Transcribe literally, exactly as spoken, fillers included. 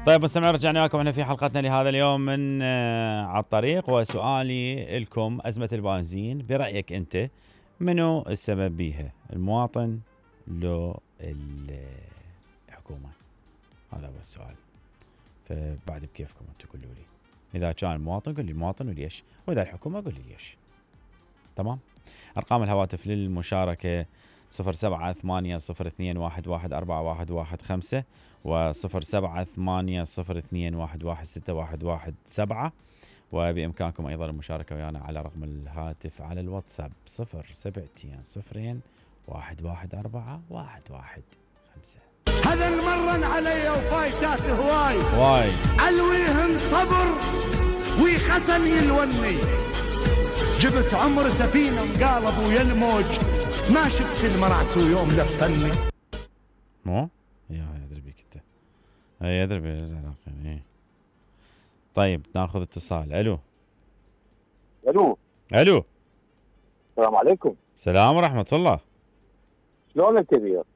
طيب مستمعين، رجعنا لكم احنا في حلقتنا لهذا اليوم من آه على الطريق، وسؤالي لكم: أزمة البنزين برأيك أنت منو السبب بيها؟ المواطن لو الحكومة؟ هذا هو السؤال. فبعد بكيفكم انتم قولوا لي. إذا كان المواطن قول لي المواطن وليش، وإذا الحكومة قول لي ليش. تمام. أرقام الهواتف للمشاركة صفر سبعة ثمانية صفر اثنين واحد واحد أربعة واحد واحد خمسة وصفر سبعة ثمانية صفر اثنين واحد واحد ستة واحد واحد سبعة، وبإمكانكم أيضا المشاركة ويانا على رقم الهاتف على الواتساب صفر سبعتين صفرين واحد واحد أربعة واحد واحد خمسة. هذا المرن علي وفايتات هواي واي علويهن صبر ويخسن يلوني، جبت عمر سفينة مقالب ويا الموج، ما شفت المرعس ويوم لفني. مو يا يدري بيك انت، اي يدري بيك. طيب ناخذ اتصال. الو الو الو السلام عليكم. السلام ورحمة الله. شلونك كبير؟